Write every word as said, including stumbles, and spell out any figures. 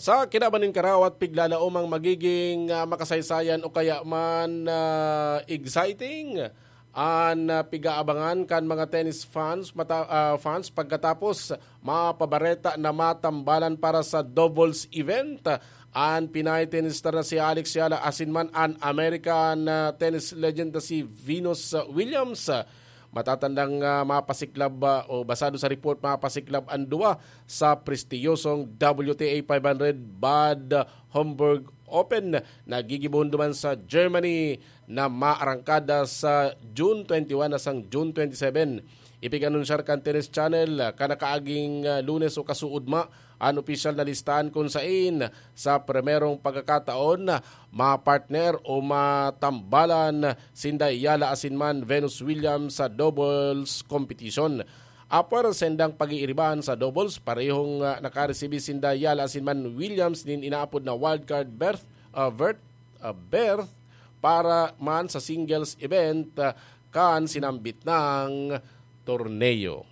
Sa kinaban nin karawat, piglalaom ang magiging, ah, makasaysayan o kaya man, ah, exciting an, ah, pig-aabangan kan mga tennis fans mata-, ah, fans pagkatapos mapabareta na matambalan para sa doubles event an Pinay tennis star na si Alex Yala asin man an American, ah, tennis legend na si Venus, ah, Williams. Matatandang, ah, mapasiklab, ah, o basado sa report, mapasiklab an duwa sa prestiyosong W T A five hundred Bad Homburg Open na gigibohon duman sa Germany na maarangkada sa June twenty-one asang June twenty-seven. Ipig-anunsyar kan Tennis Channel, ah, kan nakaaging, ah, Lunes o kasuodma an opisyal na listahan kun sain sa primerong pagkakataon mapartner o matambalan sinda Yala asin man Venus Williams sa doubles competition. Apwera sa sindang pag-iiribahan sa doubles, parehong, ah, nakaresibi sinda Yala asin man Williams nin inaapod na wildcard berth, ah, berth, ah, berth para man sa singles event, ah, kan sinambit nang torneo.